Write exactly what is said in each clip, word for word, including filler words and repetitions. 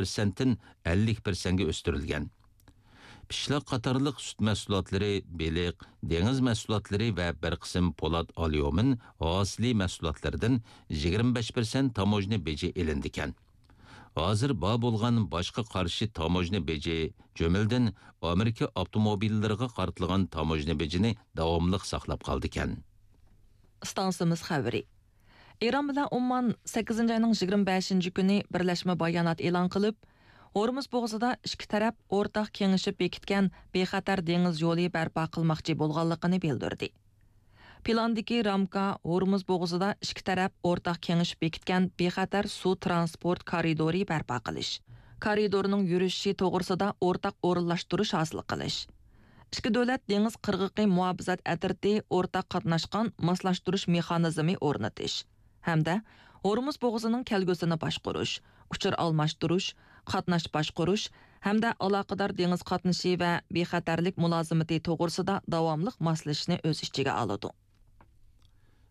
پىرسەنتتىن ئەللىك پىرسەنتكە ئۆستۈرۈلگەن. پىشلاق قاتارلىق سۈت مەھسۇلاتلىرى، بېلىق، دېڭىز مەھسۇلاتلىرى ۋە بىر قىسىم پولات، ئاليۇمىن ھاسىلى مەھسۇلاتلىرىدىن يىگىرمە بەش پىرسەنت تاموژنا بېجى ئېلىندىكەن. ھازىر بار بولغان باشقا قارشى تاموژنا بېجى، جۈملىدىن ئامېرىكا ئاپتوموبىللىرىغا قارىتىلغان تاموژنا بېجىنى داۋاملىق ساقلاپ قالىدىكەن. ئىستانسىمىز خەۋىرى. ئىران بىلەن ئومان سەككىزىنچى ئاينىڭ يىگىرمە بەشىنچى كۈنى بىرلەشمە بايانات ئېلان قىلىپ، ھورمۇز بوغۇزىدا ئىككى تەرەپ ئورتاق كېڭىشىپ بېكىتكەن بىخەتەر دېڭىز يولى بەرپا قىلماقچى بولغانلىقىنى بىلدۈردى. پىلاندىكى رامكا ھورمۇز بوغۇزىدا ئىككى تەرەپ ئورتاق كېڭىشىپ بېكىتكەن بىخەتەر سۇ ترانسپورت كارىدورى بەرپا قىلىش، كارىدورنىڭ يۈرۈشۈشى توغرىسىدا ئورتاق ئورۇنلاشتۇرۇش ھاسىل قىلىش، ئىككى دۆلەت دېڭىز قىرغىقى مۇھاپىزەت ئەترىتى ئورتاق قاتناشقان ماسلاشتۇرۇش مېخانىزمى ئورنىتىش ھەمدە ھورمۇز بوغۇزىنىڭ كەلگۈسىنى باشقۇرۇش، ئۇچۇر ئالماشتۇرۇش، قاتناش باشقۇرۇش ھەمدە ئالاقىدار دېڭىز قاتنىشى ۋە بىخەتەرلىك مۇلازىمىتى توغرىسىدا داۋاملىق ماسلىشىشنى ئۆز ئىچىگە ئالىدۇ.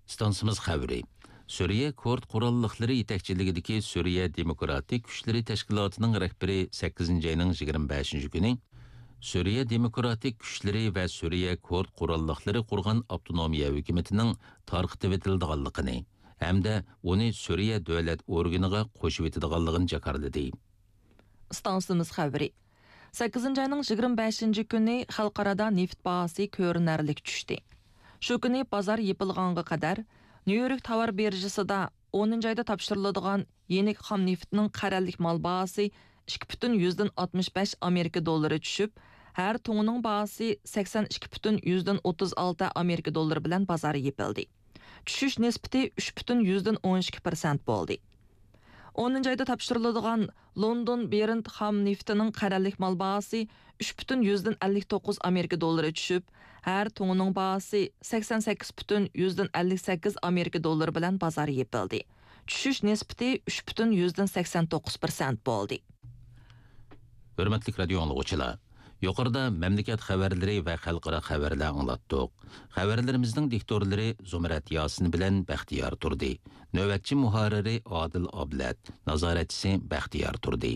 ئىستانسىمىز خەۋىرى. سۈرىيە كۇرد قوراللىقلىرى يېتەكچىلىكىدىكى سۈرىيە دېموكراتىك كۈچلىرى تەشكىلاتىنىڭ رەھبىرى سەككىزىنچى ئاينىڭ يىگىرمە بەشىنچى كۈنى سۈرىيە دېموكراتىك كۈچلىرى ۋە سۈرىيە كۇرد قوراللىقلىرى قۇرغان ئاپتونومىيە ھۆكۈمىتىنىڭ تارقىتىۋېتىلىدىغانلىقىنى ھەمدە ئۇنى سۈرىيە دۆلەت ئورگىنىغا قوشۇۋېتىدىغانلىقىنى جاكارلىدى. ئىستانسىمىز خەۋىرى. سەككىزىنچى ئاينىڭ يىگىرمە بەشىنچى كۈنى خەلقئارادا نېفىت باھاسى كۆرۈنەرلىك چۈشتى. شۇ كۈنى بازار يېپىلغانغا قەدەر، نيۇ يورك تاۋار بىرژىسىدا ئونىنچى ئايدا تاپشۇرۇلىدىغان يېنىك خام نېفىتنىڭ قەرەللىك مال باھاسى ئىككى پۈتۈن يۈزدىن ئاتمىش بەش ئامېرىكا دوللىرى چۈشۈپ، ھەر تۇڭىنىڭ باھاسى سەكسەن ئىككى پۈتۈن يۈزدىن ئوتتۇز ئالتە ئامېرىكا دوللىرى بىلەن بازار يېپىلدى. چۈشۈش نىسبىتى ئۈچ پۈتۈن يۈزدىن ئون ئىككى پىرسەنت بولدى. ئونىنچى ئايدا تاپشۇرۇلىدىغان لوندون برېنت خام نېفىتىنىڭ قەرەللىك مال باھاسى ئۈچ پۈتۈن يۈزدىن ئەللىك توققۇز ئامېرىكا دوللىرى چۈشۈپ، ھەر تۇڭىنىڭ باھاسى سەكسەن سەككىز پۈتۈن يۈزدىن ئەللىك سەككىز ئامېرىكا دوللىرى بىلەن بازار يېپىلدى. چۈشۈش نىسبىتى ئۈچ پۈتۈن يۈزدىن سەكسەن توققۇز پىرسەنت بولدى. ھۆرمەتلىك رادىئو ئاڭلىغۇچىلار! يۇقىرىدا مەملىكەت خەۋەرلىرى ۋە خەلقئارا خەۋەرلەر ئاڭلاتتۇق. خەۋەرلىرىمىزنىڭ دىكتورلىرى زۇمرەت ياسىن بىلەن بەختىيار تۇردى. نۆۋەتچى مۇھەررىرى ئادىل ئابلەت، نازارەتچىسى بەختىيار تۇردى.